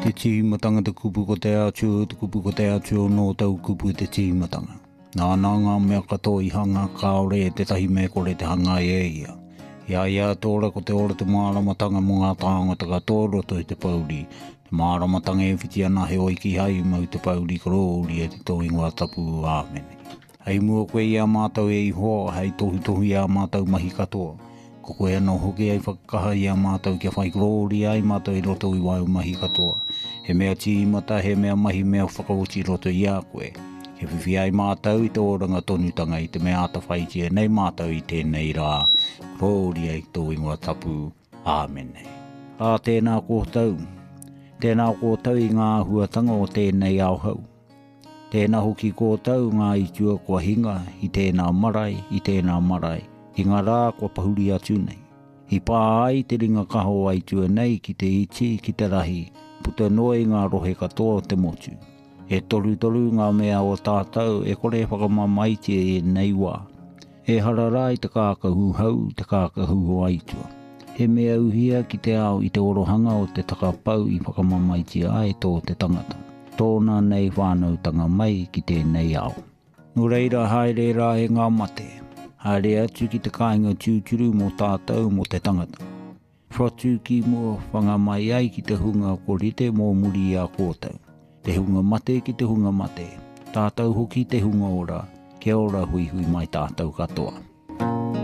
Te tīmatanga te kupu ko te Atua, te kupu ko te Atua nō tau kupu te tīmatanga. Nāna ngā mea katoa i hanga, kāore e tētahi me kore te hanga e ia. I a ia te ora ko te ora te māramatanga mō ngā tāngata katoa roto i te pouri. Te māramatanga e whiti ana heoi kīhai i mau te pouri korōria ki tō ingoa tapu. Āmene. Hei mua koe i a mātou e Ihowa, hei tohutohu i ā mātou mahi katoa. Ko koe anō hoki hei whakakaha i a mātou kia whai korōria ai mātou i roto i wāu mahi katoa. He mea tīmata, he mea mahi mea whakaoti i roto i a koe. Kia whiwhi ai mātou i te oranga tonutanga i te mea atawhaitia nei mātou i tēnei rā. Korōria i tō ingoa tapu. Āmene. Ā, tēnā koutou. Tēnā koutou i ngā āhuatanga o tēnei ao hou. Tēnā hoki kōtou ngā itua kua hinga i tēnā marae, i tēnā marae, i ngā rā kua pahuri atu nei. I pā ai te ringa kaha o Aitua nei ki te iti, ki te rahi, puta noa i ngā rohe katoa o te motu. E torutoru ngā mea o tātou e kore e whakamamaetia i ēnei wā. Ehara rā i te kākahu hau, te kākahu o Aitua. He mea uhia ki te ao i te orohanga o te takapau i whakamamaetia ai tō te tangata, tōna nei whānautanga mai ki tēnei ao. Nō reira haere rā e ngā mate, haere atu ki te kāinga tūturu mō tātou, mō te tangata. Whatu ki mua, whanga mai ai ki te hunga ko rite mō muri i a kōtou. Te hunga mate ki te hunga mate, tātou hoki te hunga ora, kia ora huihui mai tātou katoa.